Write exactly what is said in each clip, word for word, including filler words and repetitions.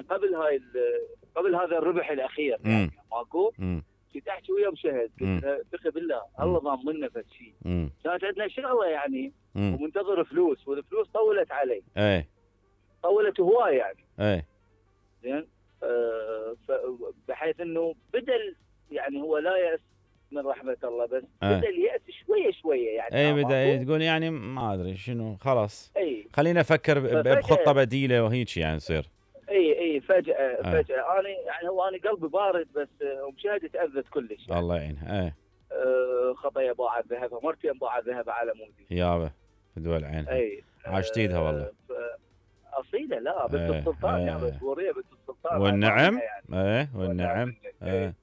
قبل هاي ال- قبل هذا الربح الاخير يعني ماكو. كنت احكي ويا مشهد قلت له ثقي بالله الله ضامننا فد شيء. كانت عندنا شغله يعني مم. ومنتظر فلوس، والفلوس طولت علي. اي طولت هوايه يعني. اي زين. آه بحيث انه بدل يعني هو لا يأس من رحمه الله، بس أي. بدا اليأس شويه شويه يعني. اي بدا تقول يعني ما ادري شنو خلاص. اي خلينا افكر بخطه بديله وهيك يعني يصير. اي اي فجاه فجاه انا يعني هو انا قلبي بارد، بس ومشاهدة تاذت كلش يعني. الله يعينها. اي أه خطيه باعت ذهبها، مرتين باعت ذهبها على مودي يابا بدول عينها. اي عاشتيدها والله. اصيله لا بنت أه السلطان يا بس وريه بنت السلطان. والنعم يعني. ايه والنعم. ايه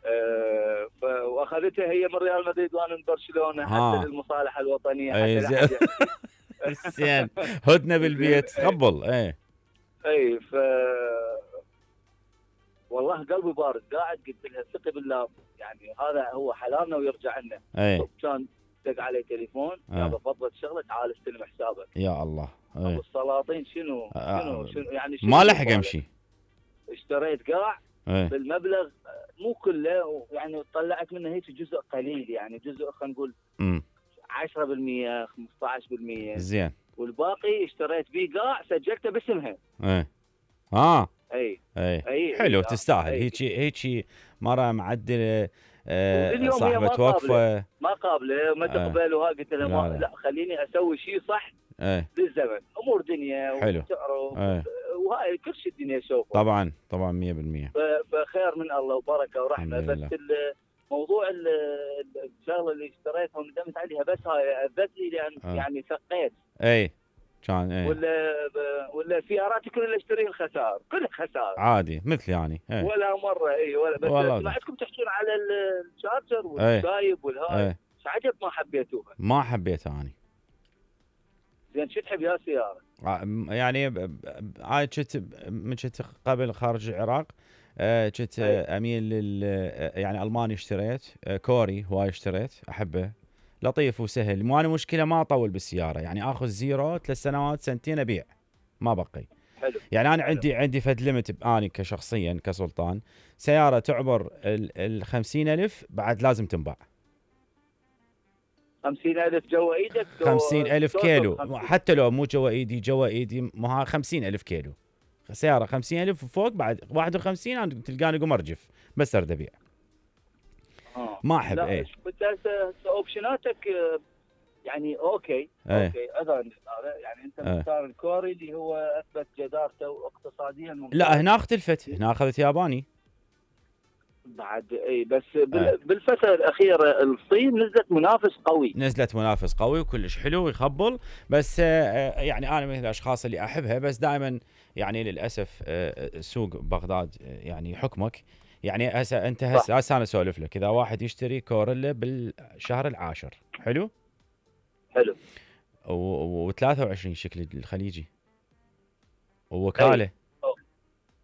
أه واخذتها هي من ريال مدريد وانا من برشلونه حتى للمصالحه الوطنيه حتى زين. زين هدنه بالبيت قبل. ايه اي ف والله قلبي بارد قاعد قلت لها ثقي بالله يعني هذا هو حلالنا ويرجع لنا. اي كان دق علي تليفون يا بفضل شغله تعال استلم حسابك. يا الله. أي. ابو السلاطين شنو شنو شنو يعني شنو ما لحق امشي. اشتريت قاع بالمبلغ مو كله يعني طلعت منه هيك جزء قليل يعني جزء خلينا نقول عشرة بالمئة خمسة عشر بالمئة. زين. والباقي اشتريت بيه قاع سجلته باسمها. ايه اه اي اي, أي. حلو أي. تستاهل. هيك هيك مره معدله. آه صاحبه وقفه ما قابله ما تقبل. وها قلت لها ما لا خليني اسوي شيء صح. ايه. بالزمن امور دنيا وتعرف. ايه. وهاي كل شيء الدنيا شوفه. طبعا طبعا مية بالمية. فخير من الله وبركه ورحمه. بس موضوع الشغله اللي اشتريتها وندمت عليها بس هاي اذت لي لان آه. يعني ثقيت. اي كان ايه. ولا ولا سياراتي كلها اشتريها الخسائر كلها خسائر عادي مثل يعني. ايه. ولا مره اي ولا بس سمعتكم تحكون على الشارجر والشايب والهاي. ايه. عجب ما حبيتوها. ما حبيتها اني. زين شو تحب يا سياره؟ يعني انا كنت من كنت قبل خارج العراق كنت اميل لل يعني الماني اشتريت كوري هواي اشتريت احبه لطيف وسهل. مو انا مشكله ما اطول بالسياره يعني اخذ زيرو ثلاث سنوات سنتين ابيع ما بقي. حلو. يعني انا حلو. عندي عندي فد ليمت اني كشخصيا كسلطان سياره تعبر ال خمسين ألف بعد لازم تنباع. خمسين ألف جوا ايدك. خمسين ألف كيلو خمسين. حتى لو مو جوا ايدي جوا ايدي ما خمسين ألف كيلو سياره خمسين ألف وفوق بعد واحد وخمسين أنا تلقاني قوم ارجف بس ارد ابيع. آه. ما احب. لا ايه اوبشناتك يعني اوكي. ايه. اوكي اذن يعني انت مختار ايه. الكوري اللي هو اثبت جدارته اقتصاديا ممتاز. لا هنا اختلفت هنا اخذت ياباني بعد اي بس ايه. بالفتره الاخيره الصين نزلت منافس قوي. نزلت منافس قوي وكلش حلو ويخبل. بس يعني انا من الاشخاص اللي احبها بس دائما يعني للاسف سوق بغداد يعني حكمك. يعني هسه انت هسه هسه انا اسولف لك اذا واحد يشتري كوريلا بالشهر العاشر حلو حلو وثلاثة وعشرين شكل الخليجي ووكاله. أي. أوه.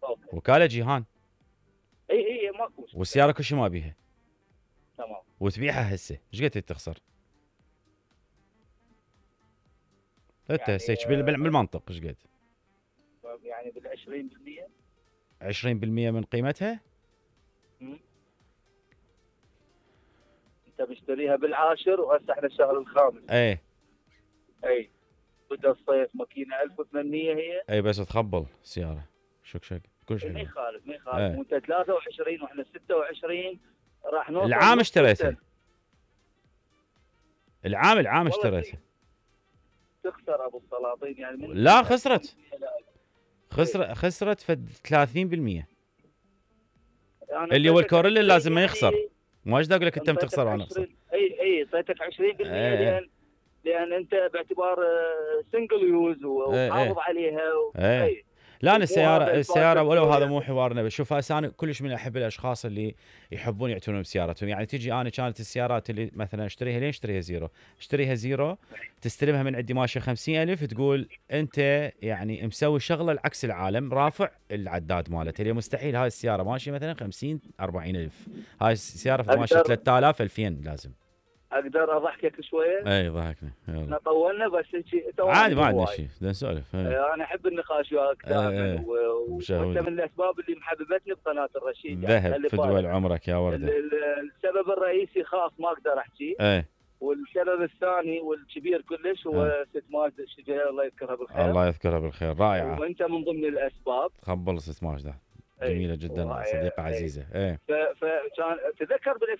أوه. وكاله جيهان. اي اي ماكو والسياره كل شيء ما بيها. تمام. وتبيعها هسه ايش قد تخسر؟ انت يعني هسه بالمنطق ايش قد؟ يعني بال عشرين بالمئة عشرين بالمئة من قيمتها. امم انت مشتريها بالعاشر وهسه احنا الشهر الخامس. اي اي بدا الصيف ماكينه ألف وثمانمئة هي. اي بس تخبل السياره شك شك كل شيء. ما يخالف ما يخالف. وانت ثلاثة وعشرين واحنا ستة وعشرين راح نوصل. العام اشتريتها. العام العام اشتريتها. تخسر ابو السلاطين يعني من لا خسرت. خسر خسرت في ثلاثين بالمئة. يعني اللي هو الكوريلا لازم ما يخسر. ما ايش اقول لك انت بتخسر وانا اخسر. اي اي اعطيتك عشرين بالمئة لان لان انت باعتبار سنجل يوز وحافظ عليها. اي لا انا السياره السياره ولو هذا مو حوارنا. بشوف انا كلش من احب الاشخاص اللي يحبون يعتنون بسيارتهم. يعني تجي انا كانت السيارات اللي مثلا اشتريها لين اشتريها زيرو اشتريها زيرو تستلمها من عندي ماشيه خمسين ألف تقول انت يعني مسوي شغله العكس العالم رافع العداد مالته. اللي مستحيل هاي السياره ماشيه مثلا خمسين أربعين ألف. هاي السياره ماشيه ثلاثة آلاف ألفين لازم. اقدر اضحكك شويه؟ اي ضحكني احنا طولنا بس انت عادي ما عندنا شيء بدنا نسولف. انا احب النقاش وياك دائما، وانت من الاسباب اللي محببتني بقناه الرشيد. ذهب في دول عمرك يا ورده. السبب الرئيسي خاص ما اقدر احكي. ايه. والسبب الثاني والكبير كلش هو أه. ست ماجدة الشجيري الله يذكرها بالخير. الله يذكرها بالخير، رائعه. وانت من ضمن الاسباب. تقبل ست ماجدة جميله جدا، صديقه عزيزه. ايه. فكان تذكر بال